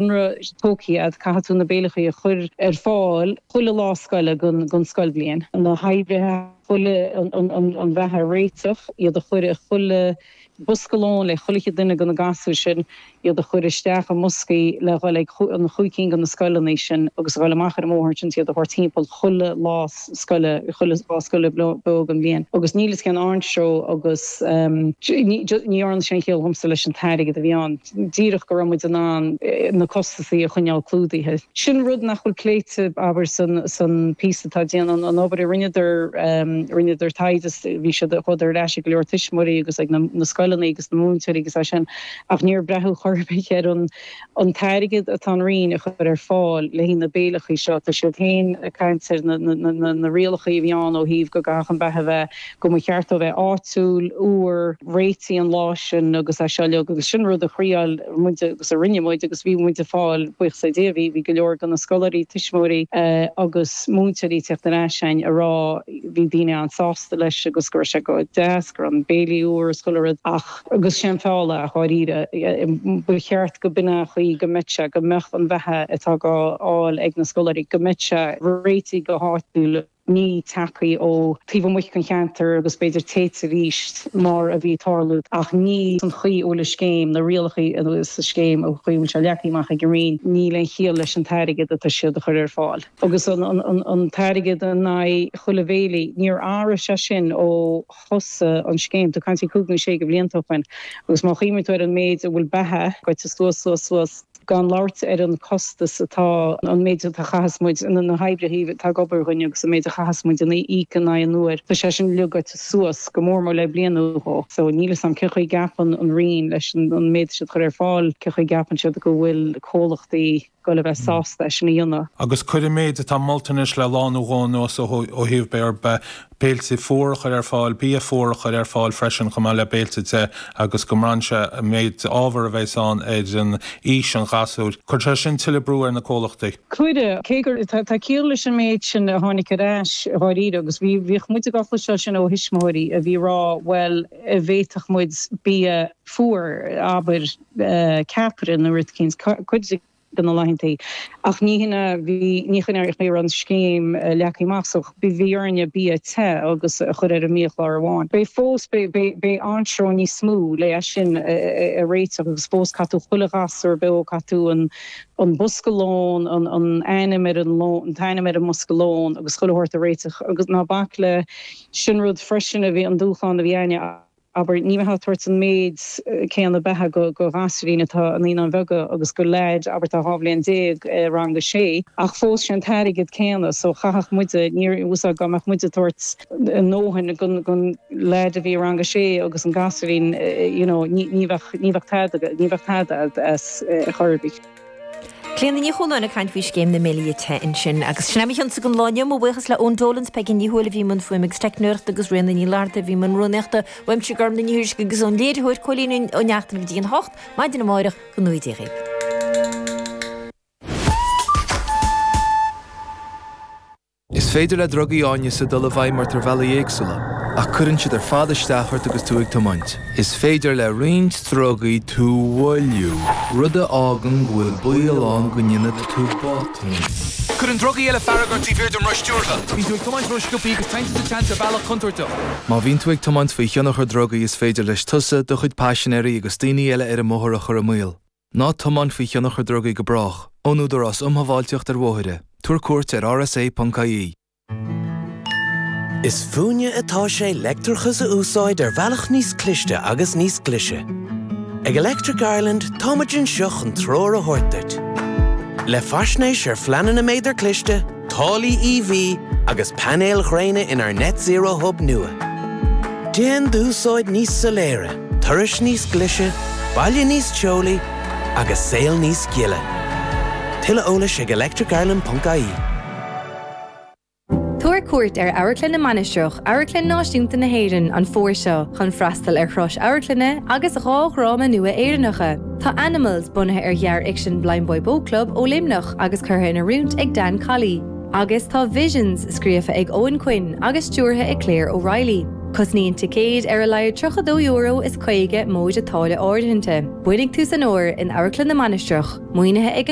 Conradh tógtha agat, caithfidh tú na béileachaí a chur ar fáil chuile lá scoile den scoilbhliain. Na hoibrithe chuile an bheatha a réiteach, iad a chur i chuile bosca lóin le chuile dhuine de na gasúir sin, iad a chur isteach i mboscaí le dhul ag an chúig cinn de na scoileanna sin agus a dhul amach ar an mbóthar ansin is iad a thabhairt timpeall chuile lá scoile, chuile lá scoile beo den bhliain. Agus níl fhios cén anstró agus ní dhearna sé aon chiall dhomsa leis an t-airgead a bhí ann. Díreach go raibh muid in ann na costasaí a choinneáil clúdaithe. Sin rud nach bhfuil pléite, abair, san píosa atá déanta, an obair a rinneadar, rinneadar taighde, bhí siad, chuadar ar ais ag go leor tuismitheoirí agus ag na scoileanna agus na múinteoirí agus é sin, ach níor braitheadh chor ar bith ar an an t-airgead atá an Roinn a chur ar fáil le haghaidh na béileachaí seo. Tá siad féin ag caint ar na rialachaí a bhí ann ó thaobh go gcaithfeadh an beatha bheith, go mba cheart dó bheith áitiúil, úr, réitithe an lá sin agus é seo uilig agus sin rud a thriáil muid agus a rinne muid agus bhí muid ag fáil, buíochas le Dia, bhí, bhí go leor de na scoláirí, tuismitheoirí agus múinteoirí ag teacht ar ais a'inn a rá bhí daoine an-sásta leis agus go raibh sé go deas, go raibh an béilí úr is chuile rud ach agus sé an feall é dháiríre, ba cheart go b'in é an chaoi go mbeadh sé, go mbeadh an bheatha atá dhá fháil ag na scoláirí, go mbeadh sé réitithe go háitiúil. ní tagtha ó taobh amuigh den cheantar agus b'fhéidir téite arís mar a bhí ag tarlú ach ní san chaoi a bhfuil an scéim, na rialacha sa scéim, an chaoi a bhfuil sé leagtha amach ag an Roinn, níl aon chiall leis an t-airgead atá siad a chur ar fáil. Agus an t-airgead in aghaidh chuile bhéile, níor athraigh sé sin ó thosaigh an scéim, tá caint ar chúig nó sé de bhlianta ó shoin, agus má chuimhníonn tú ar an méid a bhfuil beatha goite suas, suas, suas, Gan labhairt ar an costas atá, an méid atá chaitheas muid, na hoibrithe atá ag obair dhuinn agus an méid a chaitheas muid a íoc in aghaidh an uair, tá sé sin uilig goite suas go mór mór le bliain nó dhó. So níl 'fhios a'm cén chaoi a gceapann an Roinn leis an méid siad chur ar fáil, cén chaoi a gceapann siad go bhfuil comhlachtaí ag goil a bheith sásta é sin a dhéanamh. Agus cuir an méid atá molta anois le lá nó dhó anuas ó thaobh b'fhéidir béilte fuar a chur ar fáil, bia fuar a chur ar fáil freisin chomh maith le béilte te agus go mbraitheann sé an méid ábhar a bheas ann ar an aois an ghasúir. Cuirfidh sé sin tuilleadh brú ar na comhlachtaí. Cuirfidh. Cé gur tá ciall leis an méid sin a tháinig ar ais dháiríre agus bhí bhíodh muid ag cloisteáil sin ó thuismitheoirí a bhí ag rá bhuel a bhféadfadh muid bia fuar, abair ceapaire nó rud eicínt, cuid de na laethantaí. Ach ní hin a bhí, ní hin a raibh an scéim leagtha amach so bhí orainne bia te agus a chur ar an mbiachlár amháin. Beidh fós, beidh, beidh anstró níos mó le é sin a réiteach agus fós caithfidh tú chuile ghasúr beo, caithfidh tú an, an bosca lóin, an, an ainm ar an lón, an t-ainm ar an mbosca lóin agus chuile shórt a réiteach agus ná bac le, sin rud freisin a bhí, an dúshlán a bhí a'inne. Abair, ní bheifeá ag tabhairt an méid céanna beatha go ghasúirín atá i Naíonáin Bheaga agus go leaid, abair, atá 12 bhliain i rang a sé, ach fós sé an t-airgead céanna so chaithfeadh muide, níor, úsáid, dá mbeadh muide ag tabhairt a ndóthain gon leaid a bhí i rang a sé agus an gasúirín, you know, ní bheadh, ní bheadh tada, ní bheadh tada as ar chor ar bith. Clíona Ní Chualáin ag caint faoi scéim na mbéilí te ansin. Agus sin é mo chionsa don lá inniu. Mo bhuíochas le Eoin Dolan 's Peigí Ní Thuathail a bhí i mbun fuaime agus teicneoireachta agus Ríona Ní Fhlatharta a bhí i mbun rúnaíochta. Uaimse Gormlaith Ní Thuairisg agus ón léiritheoir Cóilín Ó Neachtain go dtí an 8 maidin amáireach go ngnóthaí Dia dhaoibh. Is féidir le drugaí áineasa dul i bhfeidhm ort ar bhealaí éagsúla, ach cuireann siad ar fad isteach ort agus tú ag tiomáint. Is féidir le roinnt drugaí tú a mhoilliú, rud a fhágann go bhfuil baol ann go ndéanfaidh tú botún. Cuireann drugaí eile fearg ort taobh thiar den roth stiúrtha. Bíonn tú ag tiomáint ró-sciobtha agus téann tú sa tseans ar bhealach contúirteach. Má bhíonn tú ag tiomáint faoi thionchar drugaí is féidir leis tusa, do chuid paisinéirí agus daoine eile ar an mbóthar a chur i mbaol. Ná tiomáin faoi thionchar drugaí go brách. Ón Údarás Um Shábháilteacht ar Bhóithre, tabhair cuairt ar rsa.ie. Is fúinne atá sé leictreachas a úsáid ar bhealach níos cliste agus níos glaise. Ag Electric Ireland táimid anseo chun treoir a thabhairt duit. Le faisnéis ar phleananna méadar cliste, táillí EV agus painéil ghréine inár Net Zero Hub nua. Déan d'úsáid níos soiléire, turais níos glaise, baile níos teolaí agus saol níos gile. Tuilleadh eolais ag electricireland.ie. Tabhair cuairt ar Amharclann na Mainistreach, Amharclann Náisiúnta na hÉireann, an fómhar seo chun freastal ar thuras amharclainne agus 2 dhráma nua Éireannacha. Tá Animals, bunaithe ar ghearrfhicsean Blindboy Boatclub ó Luimneach agus curtha in oiriúint ag Dan Colley, agus tá Visions, scríofa ag Eoghan Quinn agus stiúrtha ag Claire O'Reilly. Cosnaíonn ticéid ar a laghad €32 is 50 móide táille áirithinte. Bainfidh tús an fhómhair in Amharclann na Mainistreach, maoinithe ag an.